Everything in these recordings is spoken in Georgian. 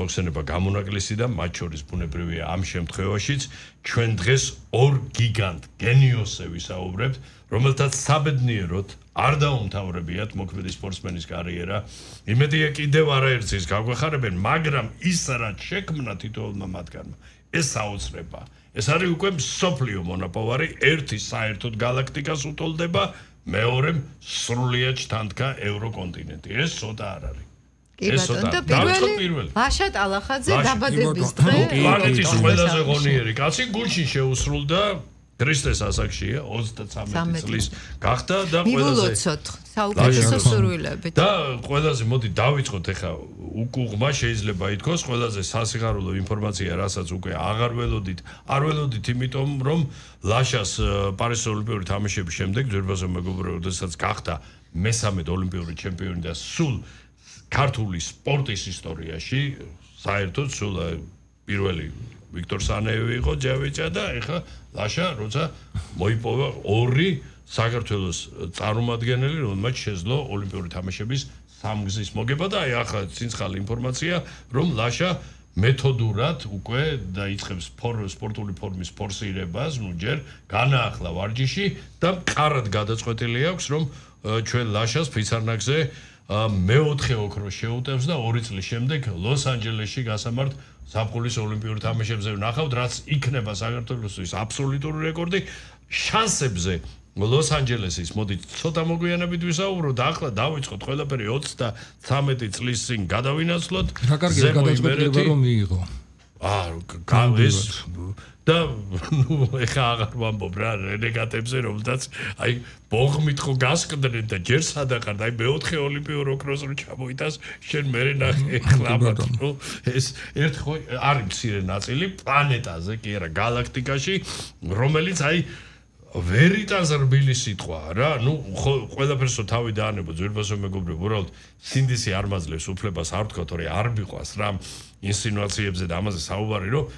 მოხსენება გამონაკლისი და მათ შორის ბუნებრივია ამ შემთხვევაშიც ჩვენ დღეს ორ გიგანტ გენიოსზე ვისაუბრებთ, რომელთაც საბედნიეროდ არ დაუმთავრებიათ მოქმედი სპორტსმენის კარიერა. იმედია კიდევ არაერთს ის გაგვეხარებენ, მაგრამ ის რაც შექმნა თითოეულმა მათგანმა, ეს აუცილებლია. ეს არის უკვე მსოფლიო მონაპოვარი, ერთი საერთოდ galaktikas უტოლდება, მეორე სრულიად ჩთანთქა ევროკონტინენტი. ეს ცოტა არ არის. და პირველი ლაშა ტალახაძე დაბადების დღე პლანეტის ყველაზე ღონიერი კაცი გულში შეუსრულდა ქრისტეს ასაკშია 33 წლის გახდა და ყველაზე საუკეთესო სურვილებით და ყველაზე მოდი დავიწყოთ ახლა უკუღმა შეიძლება ითქოს ყველაზე სასიხარულო ინფორმაცია რასაც უკვე აღარ ველოდით არ ველოდით იმიტომ რომ ლაშას პარიზის ოლიმპიური თამაშების შემდეგ ძვირფასო მეგობრებო როდესაც გახდა მესამედ ოლიმპიური ჩემპიონი და სულ ქართული სპორტის ისტორიაში საერთოდ სულ პირველი ვიქტორ სანაევი იყო ჯავიჭა და ეხლა ლაშა როცა მოიპოვა ორი საქართველოს წარმომადგენელი რომელმაც შეძლო ოლიმპიური თამაშების სამგზის მოგება და აი ახლა ცინცხალი ინფორმაცია რომ ლაშა მეთოდურად უკვე დაიწყებს სპორტული ფორმის ფორსირებას ნუ ჯერ განაახლა ვარჯიში და მყარად გადაწყვეტილი აქვს რომ ჩვენ ლაშას ფიცარნაგზე მეოთხე ოქროს შეუტევს და 2 წლის შემდეგ ლოს-ანჯელესში გასამართ ზაფხულის ოლიმპიური თამაშებზე ვნახავთ რაც იქნება საქართველოსთვის აბსოლუტური რეკორდი შანსებზე ლოს-ანჯელესის მოდი ცოტა მოგვიანებით ვისაუბროთ და ახლა დავიწყოთ ყველაფერი 33 წლის წინ გადავინაცვლოთ რა კარგი გადაწყვეტილება რომ მიიღო ეს და ნუ ეხა აღარ ვამბობ რა რენეგატებზე რომელთაც აი ბოღმით ხო გასკდნენ და ჯერ სადაყარ და აი მეოთხე ოლიმპიურ ოქროს რო ჩამოიტანს შენ მერე ნახე ეხლა ნუ ეს ერთ ხო არის მცირე ნაწილი პლანეტაზე კი არა galaktikაში რომელიც აი ვერ იტანს რბილი სიტყვა რა ნუ ყველაფერს თავი დაანებო ძვირფასო მეგობრებო უბრალოდ სინდისი არ მაძლევს უფლებას არ ვთქვა თორე არ მიყვას რა ინსინუაციებზე და ამაზე საუბარი რომ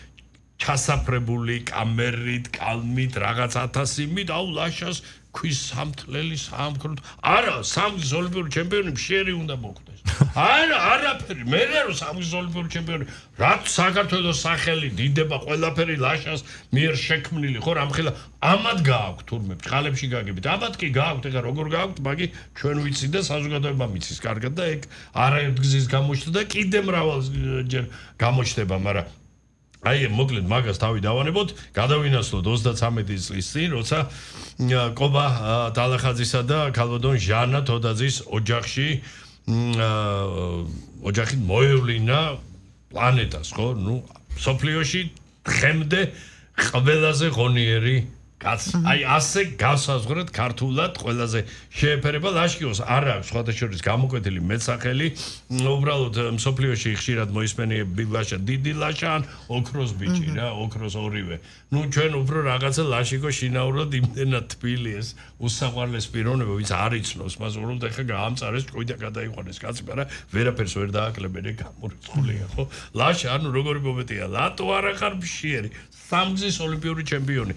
ჩასაფრებული კამერით, კალმით, რაღაც 1000-მით, აუ ლაშას ქვის სამთლელი სამკროთ. არა, სამგზის ოლიმპიური ჩემპიონი მშერი უნდა მოხდეს. არა, არაფერი, მე რა სამგზის ოლიმპიური ჩემპიონი. რაც საქართველოს სახელი დიდება ყველაფერი ლაშას მიერ შექმნილი ხო რამხელა ამად გააქვთ თურმე ბჭყალებში გაგებით. ამად კი გააქვთ, ეხლა როგორ გააქვთ, მაგი ჩვენ ვიცით და საზოგადოება მიცის კარგად და ეგ არაერთ გზის გამოჩნდა და კიდე მრავალჯერ გამოჩნდება, მაგრამ აი მოკლედ მაგას თავი დავანებოთ, გადავინაცვლოთ 33 წლის წინ, როცა კობა ტალახაძისა და ქალბატონ ჟანა თოდაძის ოჯახში ოჯახით მოევლინა პლანეტას, ხო? ნუ სოფლიოში დღემდე ყველაზე ღონიერი კაცი. აი ასე გასაზღვრეთ ქართულად ყველაზე შეეფერება ლაშკიოს არ აქვს სხვადასხვა გამოკვეთილი მეტსახელი უბრალოდ მსოფლიოში ხშირად მოისმენიები ლაშა დიდი ლაშა ან ოქროს ბიჭი რა ოქროს ორივე ნუ ჩვენ უფრო რაღაცა ლაშიკო შინაურად იმდენად თბილი ეს უსაყვარლეს პიროვნება ვინც არ იცნობს მას უბრალოდ ეხა გაამწარეს ჭკუიდა გადაიყვანეს კაცი მაგრამ ვერაფერს ვერ დააკლებენ ეგ გამორიცხულია ხო ლაშა ანუ როგორი მომეტია ლატო არა ხარ მშიერი სამგზის ოლიმპიური ჩემპიონი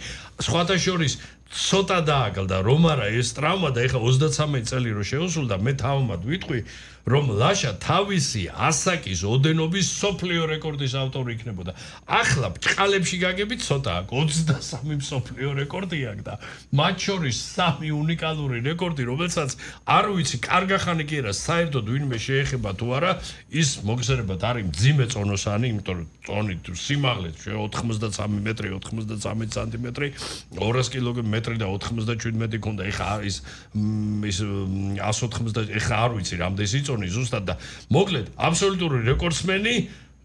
სხვათა შორის ცოტა დააკლდა რომ არა ეს ტრავმა და ეხა 33 წელი რო შეუსრულდა მე თავმად ვიტყვი რომ ლაშა თავისი ასაკის ოდენობის სოფლიო რეკორდის ავტორი იქნებოდა ახლა ბჭყალებში გაგებით ცოტა აქვს 23 სოფლიო რეკორდი აქვს და მათ შორის 3 უნიკალური რეკორდი რომელსაც არ ვიცი კარგახანი კი არა საერთოდ ვინმე შეეხება თუ არა ის მოგხსენებათ არის მძიმე წონოსანი იმიტომ რომ წონით სიმაღლე 93 მეტრი 93 სანტიმეტრი 200 კილომეტრი და 97 ქონდა ეხა არის ის 180 ეხა არ ვიცი რამდენი სიწონი ზუსტად და მოკლედ აბსოლუტური რეკორდსმენი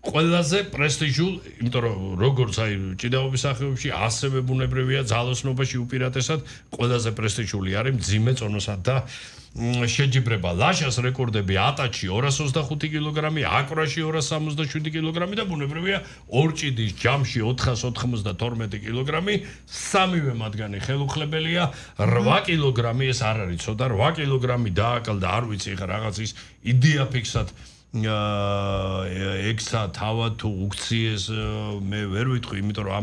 ყველაზე პრესტიჟულ იმიტომ რომ როგორც აი ჭიდაობის სახეობებში ასევე ბუნებრივია ძალოსნობაში უპირატესად ყველაზე პრესტიჟული არის მძიმე წონოსად და შეჯიბრება ლაშას რეკორდები ატაჩი 225 კილოგრამი აკვრაში 267 კილოგრამი და ბუნებრივია ორჭიდის ჯამში 492 კილოგრამი სამივე მათგანი ხელუხლებელია 8 კილოგრამი ეს არ არის ცოტა 8 კილოგრამი დააკლდა არ ვიცი ხა რაღაც ის იდეაფიქსად ექსა თავად თუ უქციეს მე ვერ ვიტყვი იმიტომ რომ